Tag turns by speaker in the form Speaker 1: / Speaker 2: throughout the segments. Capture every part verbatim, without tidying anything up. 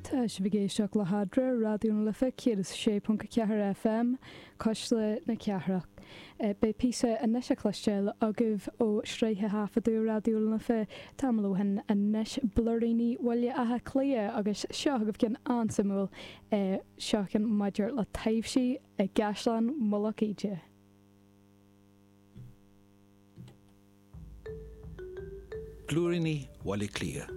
Speaker 1: Tá sibh ag éisteacht le hEadra, Raidió na Life céad is a sé ponc a ceathair FM, Cuisle na Cathrach. Beidh píosa anois a chloisteáil agaibh ó shraith a thaifeadadh Raidió na Life tamall ó shin anois, Blúiríní Bhaile Átha Cliath, agus seo agaibh ceann an-suimiúil, seo ceann maidir le taibhsí i gCaisleán Mhullach Íde.
Speaker 2: Blúiríní Bhaile Átha Cliath.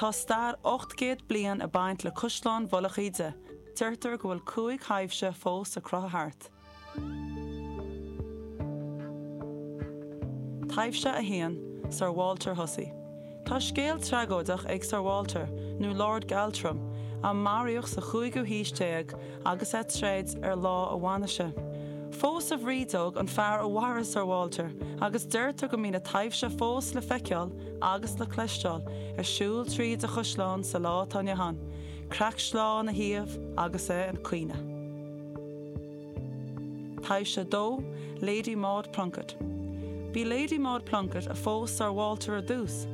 Speaker 3: Tá stair ocht gcéad bliain ag baint le Caisleán Mhullach Íde. Deirtear go bhfuil cúig thaibhse fós ag crochadh thart. Taibhse a haon, Sir Walter Hussey. Tá scéal tragóideach ag Sir Walter, nó Lord Galtrim, a maraíodh sa chúigiú haois déag agus é ag troid ar lá a bhainise. Phós a bhrídeog an fear a mharaigh Sir Walter agus deirtear go mbíonn a taibhse fós le feiceáil agus le cloisteáil ag siúl tríd an chaisleán sa lá atá inniu ann, creach sleá ina thaobh agus é ag caoineadh. Taibhse a dó, Lady Maud Plunkett. B'í Lady Maud Plunkett a phós Sir Walter ar dtús,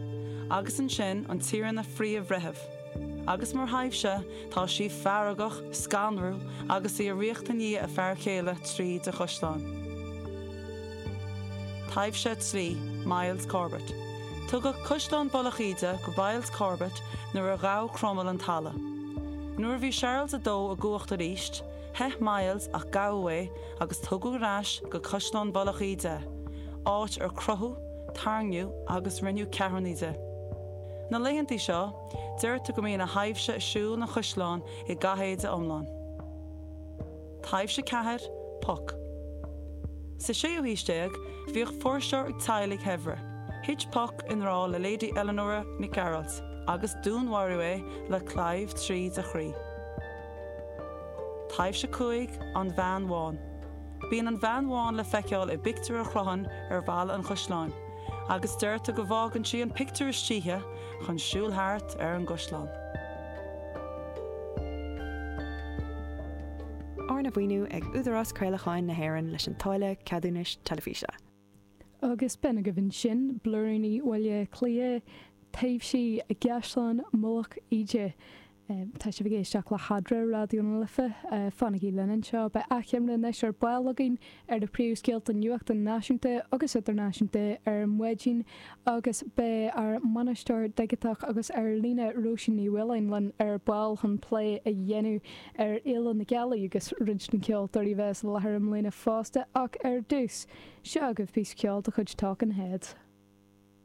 Speaker 3: agus ansin an Tiarna Phríomh-Bhreitheamh. Agus mar thaibhse, tá sí feargach, scanrúil agus í ag ritheacht i ndiaidh a fear céile tríd an chaisleán. Taibhse a trí, Miles Corbett. Tugadh Caisleán Mhullach Íde go Miles Corbett nuair a ghabh Cromail an talamh. Nuair a bhí Searls a dó i gcumhacht arís, theith Miles ach gabhadh é agus tugadh ar ais go Caisleán Mhullach Íde é, áit ar crochadh, tairngíodh agus rinneadh ceathrúnaí de. Na laethantaí seo, deirtear go mbíonn a thaibhse ag siúl an chaisleáin i gcathéide iomlán. Taibhse ceathair, Puck. Sa séú haois déag, bhíodh fuirseoir ag teaghlaigh shaibhre. Thit Puck i ngrá le Lady Eleanora Nic Gearailt agus dúnmharaíodh é le claíomh tríd a chroí. Taibhse cúig, An Bhean Bhán. Bíonn an Bhean Bhán le feiceáil i bpictiúr a chrochann ar bhalla an chaisleáin. Agus deirtear go bhfágann sí an pictiúr istoíche chun siúl thart ar an gcaisleán.
Speaker 4: Arna mhaoiniú ag Údarás Craolacháin na hÉireann leis an táille ceadúnais teilifíse.
Speaker 1: Agus b'in agaibh ansin Blúiríní Bhaile Átha Cliath, Taibhsí i gCaisleán Mhullach Íde. Tá sibh ag éisteacht le hEadra, Raidió na Life. Fanaigí linn anseo. Beidh achoimre anois ar ball againn ar na príomhscéalta nuachta náisiúnta agus idirnáisiúnta ar maidin agus beidh ár mbainisteoir digiteach agus ar líne Róisín Ní Mhaoláin linn ar ball chun plé a dhéanamh ar Fhéile na Gealaí agus roinnt de na ceoltóirí a bheas i láthair i mbliana fosta. Ach ar dtús, seo agaibh píosa ceoil de chuid Talking Heads.